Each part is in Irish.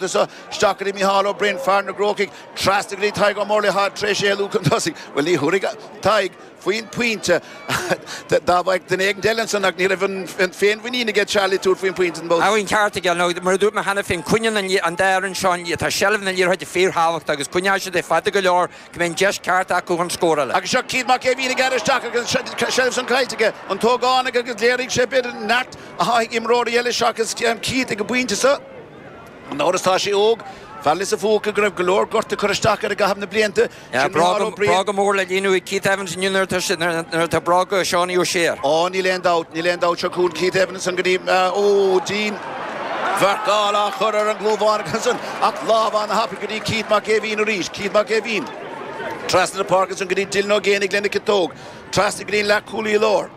Seo isteach go dtí Micheál Ó Broin, fear na gCrócaigh, trasna go dtí Tadhg Ó Murlaigh atá tar éis éalú chun tosaigh. Bhuel, ní thabharfaidh Tadhg faoin bpointe dá mbeadh duine éigin eile ansan ach ní raibh an féinmhuinín aige Charlie tabhairt faoin bpointe an babhta. An ceart aige, nó mar a dúirt mé cheana féin, coinníonn an dá fhoireann seo an tá seilbh na liathróide fíorthábhachtach agus coinneoidh siad é fada go leor go mbeidh an deis ceart acu chun scóráil. Agus seo Keith Mac Aoibhín ag gearradh isteach agus an seilbh san caillte aige, an t-ógánach agus léirigh sé b'fhéidir neart atá ag imreoirí eile seachas Keith ag an bpointe seo. Gan amhras tá sé óg. Fear Lios a' Phúca go raibh go leor gorta curtha isteach air i gcaitheamh na blianta. Sin Micheál Ó Briain. Bróga mór le líonadh ag Keith Evans inniu nuair atá bróga Seánie O'Shea air. Ó níl aon dabht, níl aon dabht. Seo chugainn Keith Evans ansan go dtí, ó, dianmharcáil á chur ar an gClúmhánach ansan ach lámh ana-thapaidh go dtí Keith Mac Aoibhín arís. Keith Mac Aoibhín trasna na páirce ansan go dtí Dylan Ó Géibheannaigh lena chiotóg. Trasna go dtí an leathchúlaí láir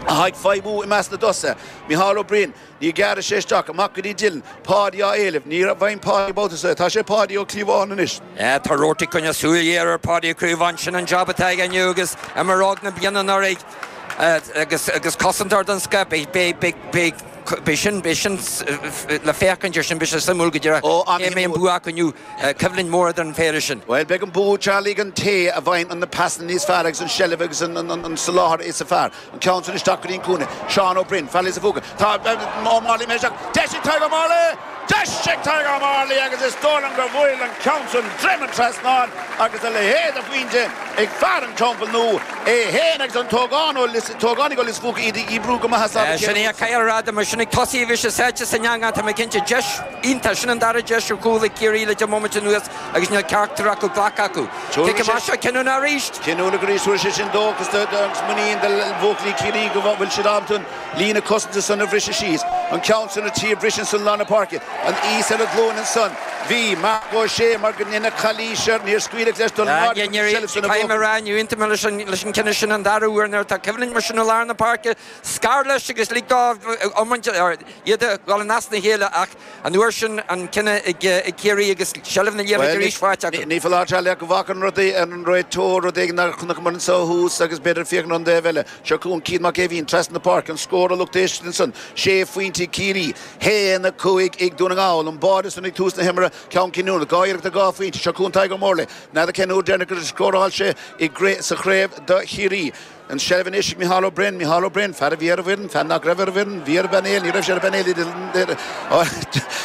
atá ag feidhmiú i measc na dtosaithe, Micheál Ó Broin. Ní ghearrfaidh sé isteach, amach go dtí Dylan. Páidí á éileamh. Ní bhfaighim Páidí babhta seo. Tá sé Páidí Ó Cíobháin anois. Tá Roarty ag coinneáil súil ghéar ar Pháidí Ó Cíobháin. Sin an jab atá aige inniu agus imreoir óg na bliana anuraidh agus cosantóir den scoth. Beidh sin le féachaint ar sin. Beidh sé suimiúil go díreach cé a mbeidh an bua acu inniu. Coimhlint mhór idir an phéire sin. Bhuel, beidh an bua, Charlie, ag an té a bhfaigheann na pasanna níos fearr agus an tseilbh agus an soláthar is fearr. An ceann san isteach go dtí an cúinne. Seán Ó Broin, fear Lios a' Phúca. Tá Ó Mairlí imithe isteach. Deis ag Tadhg Ó Mairlí! Deis ag Tadhg Ó Mairlí agus is dóigh liom gur bhuail an ceann san droim an trasnáin agus a leithéid de phointe ag fear an Teampaill Nua é féin agus an t-ógánach ó Lios a' Phúca iad ag oibriú go maith as am a chéile. Sin é a caithfidh a rá dom. Sin ag tosaí a bhí sé sáite san eangach, tá mé cinnte. Deis iontach. Sin an dara deis ar chúl ag Ciarraí le 10 mbomaite anuas agus níl ceachtar acu glactha acu. Cic amach seo cinniúnach arís. Cinniúnach arís, tabharfaidh sé sin dóchas agus muinín do bhuachaillí Chiarraí go bhfuil siad ábalta an líne cosanta san a bhriseadh síos. An ceann san ar tí briseadh ansan lár na páirce. An aos ar a ghlúin ansan. Bhí Marc Ó Sé mar go ndeineadh calaois air, níor scaoileadh leis dul in airde chun an tseilbh san a Caithfidh mé a rá, ní aontaím leis an cinneadh sin an dara huair nuair atá coimhlint mar sin i lár na páirce. Scar leis agus lig dó iomáint iad a dhul in easna a chéile ach An uair sin an cinneadh ag Ciarraí agus seilbh na liathróide arís faighte acu. Ní foláir Charlie ach go bhfaca an rud an réiteoir rud éigin nár chonaiceamar anseo ó thús agus b'fhéidir féachaint ar an dtaobh eile. Seo chugainn Keith Mac Aoibhín trasna na páirce, an scór a lucht éisteachta ansan, sé phointe ag Ciarraí, 1, 5 ag Dún na nGall. An báide san ag tús na himeartha, ceann cinniúnach, dhá iarracht ar dhá phointe. Seo chugainn Tadhg Ó Murlaigh. N'fheadar cén uair deireanach gur scóráil sé sa chraobh do Chiarraí. An tseilbh anois ag Micheál Ó Broin, Micheál Ó Broin, fear a bhí ar an bhfoireann, fear nach raibh ar an bhfoireann, bhí ar an bpainéal, ní raibh sé ar an bpainéal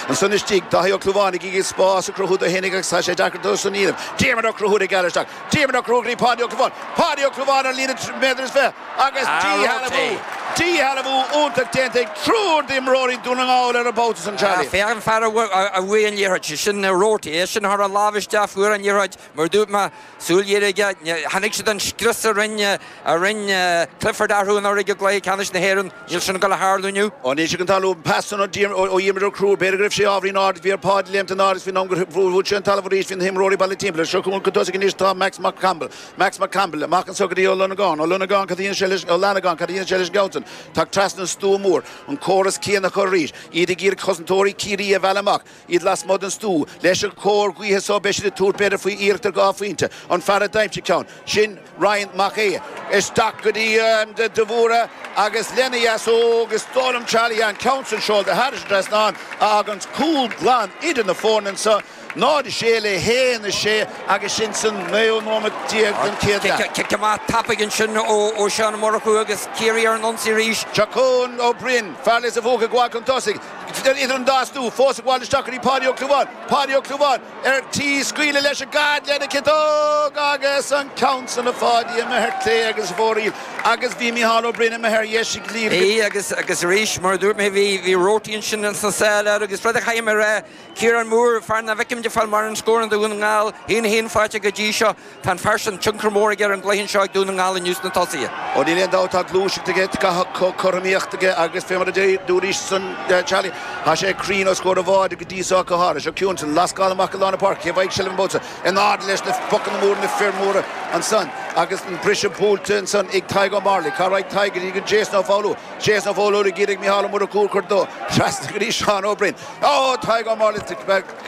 ansan istigh, Dáithí Ó Clúmháin ag iarraidh spás a chruthú dó fhéinig agus tá sé deacair dó san a dhéanamh. Diarmuid Ó Conchúir ag gearradh isteach, Diarmuid Ó Conchúir go dtí Páidí Ó Clúmháin, Páidí Ó Clúmháin ar líne méadar is 20 agus díshealbhú, díshealbhú iontach déanta ag triúr d'imreoirí Dún na nGall ar an mbabhta san, Charlie. Féach an fear a bhuaigh an liathróid, sé sin Roarty, é sin a chuir a lámh isteach, fuair an liathróid, mar a dúirt mé, Súil ghéar aige. Chonaic siad an scrios a rinne a rinne Clifford orthu anuraidh i gcluiche ceannais na hÉireann. Níl sin ag dul a tharlú inniu. Ó níl sé chun tarlú. An pas san ó Dhiarmuid Ó Conchúir, b'fhéidir go raibh sé ábhairín ard, bhí ar Pháidí léimt in airde agus faoin am gur bhuail sé an talamh arís bhí na himreoirí bailithe timpeall air. Seo chugainn chun tosaigh anois tá Max Mac Campbell. Max Mac Campbell amach anso go dtí Ó Lonagáin. Ó Lonagáin cad a dhéanfaidh sé leis Ó Fhlannagáin cad a dhéanfaidh sé leis an gceann san? Tá trasna an stua mór. An córas céanna acu arís. Iad ag iarraidh cosantóirí Ciarraí a mhealladh amach. Iad lasmuigh den stua. Leis an chóir ghaoithe so beidh siad ag tabhairt b'fhéidir faoi iarracht ar dhá phointe. An fear a d'aimsigh ceann, sin Ryan Mac Aodha. Isteach go dtí de Bhúra agus lena dheasóg is dóigh liom Charlie an ceann san seolta thairis an trasnán a fháganns cúl glan idir na foirne anso. 0-6 le 1-6 agus sin san naoú nóiméad den chéad leath. Cic amach tapaidh ansin ó Seán Ó Murchú agus Ciarraí ar an ionsaí arís. Seo chugainn Ó Broin, fear Lios a' Phúca ag gabháil chun tosaigh. Idir an dá stua, fós ag gabháil isteach go dtí Páidí Ó Clúmháin. Páidí Ó Clúmháin ar tí scaoileadh leis an gcaid lena chiotóg agus an ceann san a Pháidí imithe ar clé agus i bhfóraoil agus bhí Micheál Ó Broin imithe ar dheis ag líne. Bhí agus agus arís mar a dúirt mé bhí bhí Roarty ansin sna sála air agus rud a chaithfidh mé a rá, Ciarán Moore, fear nach bhfeicim de fáil mórán scóranna do Dhún na nGall, 1-1 faighte go dtí seo. Tá an fear sin, tionchar mór aige ar an gcluiche anseo ag Dún na nGall inniu sna tosaithe. Ó níl aon dabht tá gluaiseacht aige, tá cothromaíocht aige agus fé mar a dúraís ansan Charlie, tá sé cruinn os comhair an bháide go dtí so go háirithe. Seo chugainn lascáil amach i lár na páirce, cé a bhfaighidh seilbh an babhta seo? In airde leis na bocanna móra, na fir mhóra ansan. Agus an briseadh buailte ansan ag Tadhg Ó Mairligh. Cá raghaidh Tadhg go dtí go Jason Ó Foghlú. Jason Ó Foghlú ag iarraidh Micheál Ó Murchú a chur dó. Trasna go dtí Seán Ó Broin. Ó! Tadhg Ó Mairligh.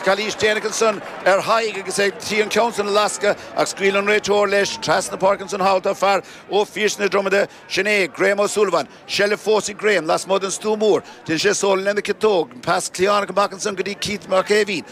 Calaois déanach ansan ar Thadhg agus é tí an ceann san a lascadh ach scaoil an réiteoir leis. Trasna páirce ansan thall tá fear ó Phiarsaigh na Dromoda. Sin é Graham Ó Súilleabháin. Seilbh fós ag Graham lasmuigh den stua mór. Déanann sé sólon lena chiotóg. Pas cliatháin amach ansan go dtí Keith Mac Aoibhín.